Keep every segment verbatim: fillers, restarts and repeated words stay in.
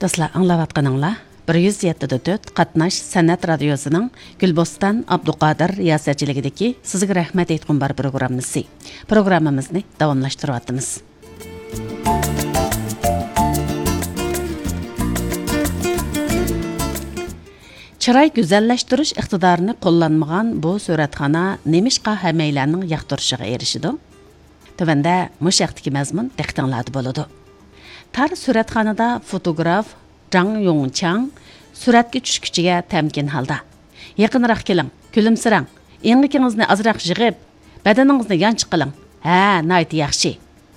دوستلار، ئاڭلاۋاتقىنىڭلار بىر يۈز يەتتە دە تۆت قاتناش سەنئەت رادىيوسىنىڭ گۈلبوستان ئابدۇقادىر رىياسەتچىلىكىدىكى سىزگە رەھمەت ئېيتقۇم بار پروگراممىسى. پروگراممىمىزنى داۋاملاشتۇرۇۋاتىمىز. چىراي گۈزەللەشتۈرۈش ئىقتىدارىنى قوللانمىغان بۇ سۈرەتخانا نېمىشقا ھەممەيلەننىڭ ياقتۇرۇشىغا ئېرىشىدۇ؟ تۆۋەندە مۇشۇ ھەقتىكى مەزمۇن دىققىتىڭلاردا بولىدۇ. تار سۈرەتخانىدا فوتوگراف جاڭ يوڭچاڭ سۈرەتكە چۈشكۈچىگە تەمكىن ھالدا، «يېقىنراق كېلىڭ، كۈلۈمسىرەڭ، ئېڭىكىڭىزنى ئازراق يىغىپ، بەدىنىڭىزنى يانچۇق قىلىڭ. ھە، ناھايىتى ياخشى.»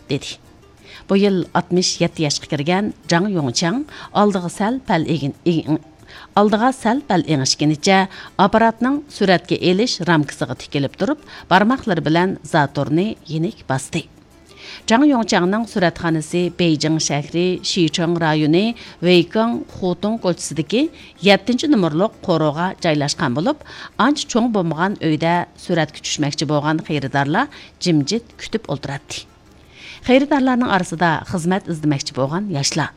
دېدى. بۇ يىل ئاتمىش يەتتە ياشقا كىرگەن جاڭ يوڭچاڭ ئالدىغا سەل پەل ئېگىن-، ئېگىن-، ئالدىغا سەل پەل ئېڭىشكىنىچە ئاپپاراتنىڭ سۈرەتكە ئېلىش رامكىسىغا تىكىلىپ تۇرۇپ، بارماقلىرى بىلەن زاتورنى يېنىك باستى. جاڭ يوڭچاڭنىڭ سۈرەتخانىسى بېيجىڭ شەھىرى شىچېڭ رايونى ۋېيكېڭ خۇتۇڭ كوچىسىدىكى يەتتىنچى نومۇرلۇق قورۇغا جايلاشقان بولۇپ، ئانچە چوڭ بولمىغان ئۆيدە سۈرەتكە چۈشمەكچى بولغان خېرىدارلار جىمجىت كۈتۈپ ئولتۇراتتى. خېرىدارلارنىڭ ئارىسىدا خىزمەت ئىزدىمەكچى بولغان ياشلار،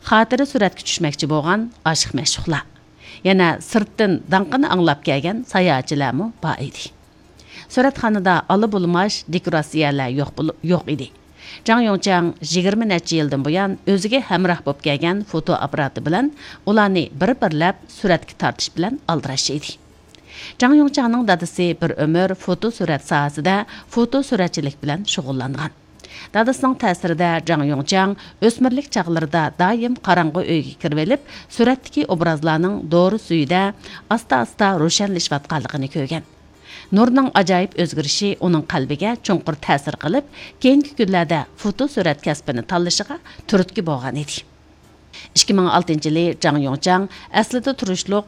خاتىرە سۈرەتكە چۈشمەكچى بولغان ئاشىق-مەشۇقلار، يەنە سىرتتىن داڭقىنى ئاڭلاپ كەلگەن ساياھەتچىلەرمۇ بار ئىدى. سۈرەتخانىدا ئالا بۇلىماش دېكوراتسىيەلەر يوق بولۇپ، يوق ئىدى. جاڭ يوڭچاڭ يىگىرمە نەچچە يىلدىن بۇيان ئۆزىگە ھەمراھ بولۇپ كەلگەن فوتو ئاپپاراتى بىلەن ئۇلارنى بىر-بىرلەپ سۈرەتكە تارتىش بىلەن ئالدىراش ئىدى. جاڭ يوڭچاڭنىڭ دادىسى بىر ئۆمۈر فوتو سۈرەت ساھەسىدە فوتو سۈرەتچىلىك بىلەن شۇغۇللانغان. دادىسىنىڭ تەسىرىدە جاڭ يوڭچاڭ ئۆسمۈرلۈك چاغلىرىدا دائىم قاراڭغۇ ئۆيگە كىرىۋېلىپ، سۈرەتتىكى ئوبرازلارنىڭ دورا سۈيىدە ئاستا-ئاستا روشەنلىشىۋاتقانلىقىنى كۆرگەن. نۇرنىڭ ئاجايىپ ئۆزگىرىشى ئۇنىڭ قەلبىگە چوڭقۇر تەسىر قىلىپ، كېيىنكى كۈنلەردە فوتو سۈرەت كەسپىنى تاللىشىغا تۈرتكە بولغان ئىدى. ئىككى مىڭ ئالتىنچى يىلى جاڭ يوڭچاڭ ئەسلىدە تۇرۇشلۇق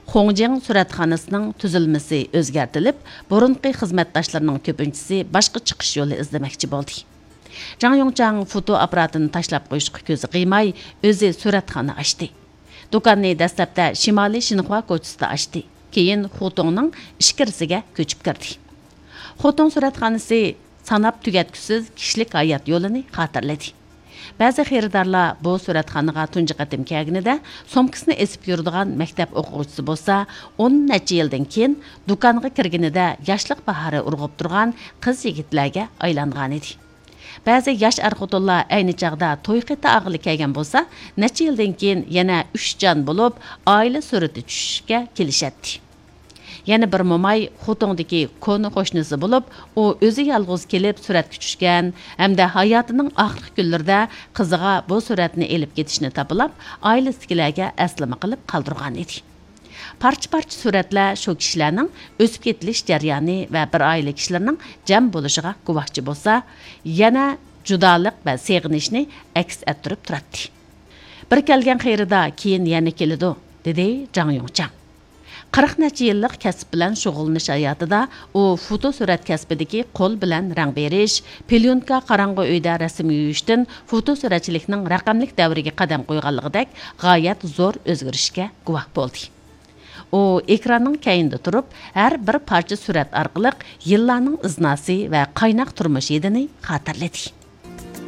خۇڭجىڭ سۈرەتخانىسىنىڭ تۈزۈلمىسى ئۆزگەرتىلىپ، بۇرۇنقى خىزمەتداشلىرىنىڭ كۆپىنچىسى باشقا چىقىش يولى ئىزدىمەكچى بولدى. جاڭ يوڭچاڭ فوتو ئاپپاراتىنى تاشلاپ قويۇشقا كۆزى قىيماي، ئۆزى سۈرەتخانا ئاچتى. دۇكاننى دەسلەپتە شىمالىي شىنخۇا كوچىسىدا ئاچتى، كېيىن خۇتۇڭنىڭ ئىچكىرىسىگە كۆچۈپ كىردى. خۇتۇڭ سۈرەتخانىسى ساناپ تۈگەتكۈسىز كىشىلىك ھايات يولىنى خاتىرىلىدى. بەزى خېرىدارلار بۇ سۈرەتخانىغا تۇنجى قېتىم كەلگىنىدە سومكىسىنى ئېسىپ يۈرىدىغان مەكتەپ ئوقۇغۇچىسى بولسا، ئون نەچچە يىلدىن كېيىن دۇكانغا كىرگىنىدە ياشلىق باھارى ئۇرغۇپ تۇرغان قىز-يىگىتلەرگە ئايلانغانىدى. بەزى ياش ئەر-خوتۇنلار ئەينى چاغدا توي خېتى ئالغىلى كەلگەن بولسا، نەچچە يىلدىن كېيىن يەنە ئۈچ جان بولۇپ، ئائىلە سۈرىتى چۈشۈشكە كېلىشەتتى. يەنە بىر موماي خوتۇڭدىكى كونا قوشنىسى بولۇپ، ئۇ ئۆزى يالغۇز كېلىپ سۈرەتكە چۈشكەن ھەمدە ھاياتىنىڭ ئاخىرقى كۈنلىرىدە قىزىغا بۇ سۈرەتنى ئېلىپ كېتىشنى تاپىلاپ، ئائىلىسىدىكىلەرگە ئەسلىمە قىلىپ قالدۇرغان ئىدى. پارچە-پارچە سۈرەتلەر شۇ كىشىلەرنىڭ ئۆسۈپ يېتىلىش جەريانى ۋە بىر ئائىلە كىشىلىرىنىڭ جەم بولۇشىغا گۇۋاھچى بولسا، يەنە جۇدالىق ۋە سېغىنىشنى ئەكس ئەتتۈرۈپ تۇراتتى. «بىر كەلگەن خېرىدار كېيىن يەنە كېلىدۇ»، دېدى جاڭ يوڭچاڭ. قىرىق نەچچە يىللىق كەسىپ بىلەن شۇغۇللىنىش ھاياتىدا ئۇ فوتو سۈرەت كەسپىدىكى قول بىلەن رەڭ بېرىش، پليونكا، قاراڭغۇ ئۆيدە رەسىم يۇيۇشتىن فوتو سۈرەتچىلىكنىڭ رەقەملىك دەۋرىگە قەدەم قويغانلىقىدەك غايەت زور ئۆزگىرىشكە گۇۋاھ بولدى. ئۇ ئېكراننىڭ كەينىدە تۇرۇپ، ھەر بىر پارچە سۈرەت ئارقىلىق يىللارنىڭ ئىزناسى ۋە قايناق تۇرمۇش ھىدىنى خاتىرىلىدى.